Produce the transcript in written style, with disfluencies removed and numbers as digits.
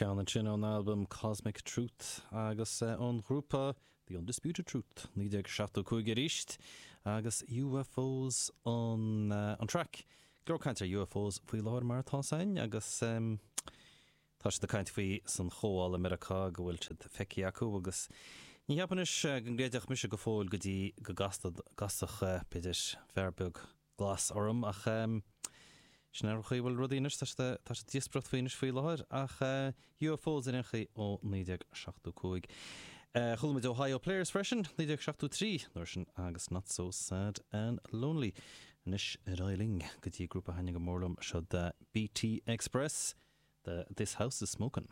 Ceann ansin ón albam Cosmic Truth agus ón ghrúpa The Undisputed Truth, 1975 arís, agus UFOs an an traic. Go leor caint ar UFOs faoi láthair mar atá 's againn agus tá siad ag caint faoi san Chomhdháil i Meiriceá go bhfuil siad feicthe acu agus ní cheapaim anois go gcreidfeadh mise go fóill go dtí go gcasfadh b'fhéidir fear beag glas orm ach sin é an chaoi a bhfuil rudaí anois, tá siad tá siad ag díospóireacht faoi anois faoi láthair ach UFOs ar aon chaoi ó 1975. Chuala muid Ohio Players freisin, 1973 an uair sin agus Not So Sad and Lonely. Anois ar aghaidh linn go dtí grúpa a thaitníonn go mór liom, seo BT Express, The This House Is Smokin'.